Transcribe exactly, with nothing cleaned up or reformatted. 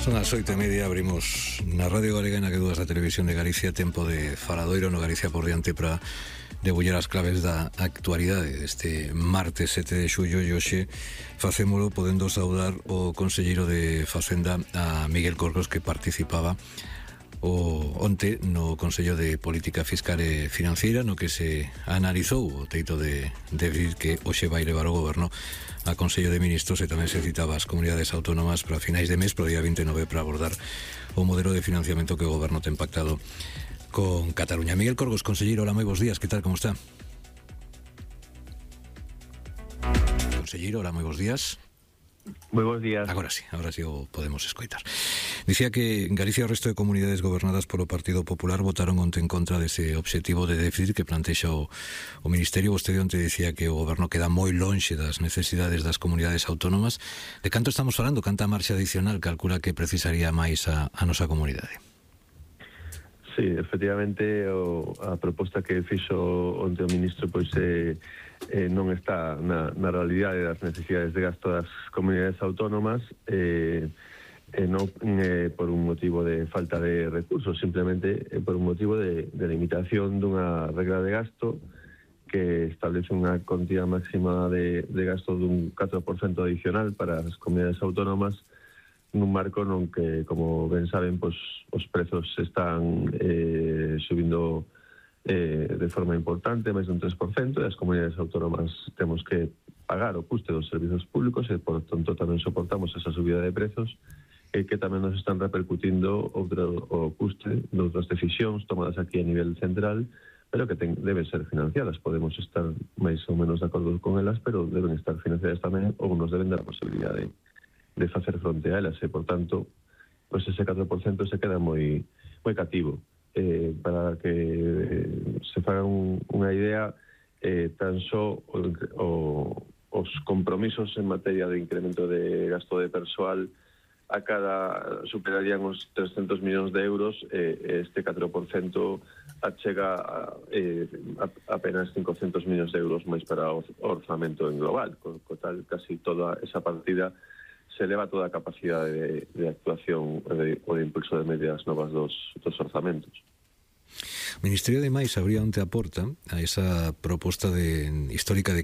Son as oito e media, abrimos na Radio Galega e na que dúas da Televisión de Galicia tempo de faladoiro no Galicia por diante para debullar as claves da actualidade deste martes sete de xullo, e hoxe facémolo podendo saudar o conselleiro de Facenda, a Miguel Corcos, que participaba o onte no Consello de Política Fiscal e Financiera, no que se analizou o teito de déficit que hoxe vai levar o goberno a Consello de Ministros, e tamén se citaba as comunidades autónomas para finais de mes, para o día vinte e nove, para abordar o modelo de financiamento que o goberno ten pactado con Cataluña. Miguel Corcos, conselleiro, hola, moi bons días, que tal, como está? Conselleiro, hola, moi bons días. Moi bons días. Agora sí, agora sí o podemos escoitar. Dicía que Galicia e o resto de comunidades gobernadas polo Partido Popular votaron onte en contra dese obxectivo de déficit que plantexa o, o Ministerio. Vostede onte dicía que o goberno queda moi lonxe das necesidades das comunidades autónomas. De canto estamos falando? Canta marxa adicional calcula que precisaría máis a, a nosa comunidade? Sí, efectivamente, o, a proposta que fixo onte o ministro pois eh, eh, non está na, na realidade das necesidades de gasto das comunidades autónomas, eh, eh, non eh, por un motivo de falta de recursos, simplemente eh, por un motivo de, de limitación dunha regla de gasto que establece unha cantidad máxima de, de gasto dun catro por cento adicional para as comunidades autónomas, nun marco non que, como ben saben, pois, os prezos están eh, subindo eh, de forma importante, máis dun tres por cento, e as comunidades autónomas temos que pagar o custe dos servizos públicos e, por tanto, tamén soportamos esa subida de prezos, e que tamén nos están repercutindo outro, o custe de outras decisións tomadas aquí a nivel central, pero que ten, deben ser financiadas. Podemos estar máis ou menos de acordo con elas, pero deben estar financiadas tamén, ou nos deben dar a posibilidade de de facer fronte a elas, e, por tanto, pues ese catro por cento se queda moi moi cativo. Eh, para que eh, se faga un, unha idea, eh, tan só o, o, os compromisos en materia de incremento de gasto de persoal a cada superarían os trescentos millóns de euros, eh, este catro por cento achega a, eh, a, apenas cincocentos millóns de euros máis para o orzamento en global, co, co tal casi toda esa partida se eleva toda a capacidade de, de actuación de, ou de impulso de medidas novas dos, dos orzamentos. O Ministerio de Mais abría onte a porta a esa proposta de, histórica de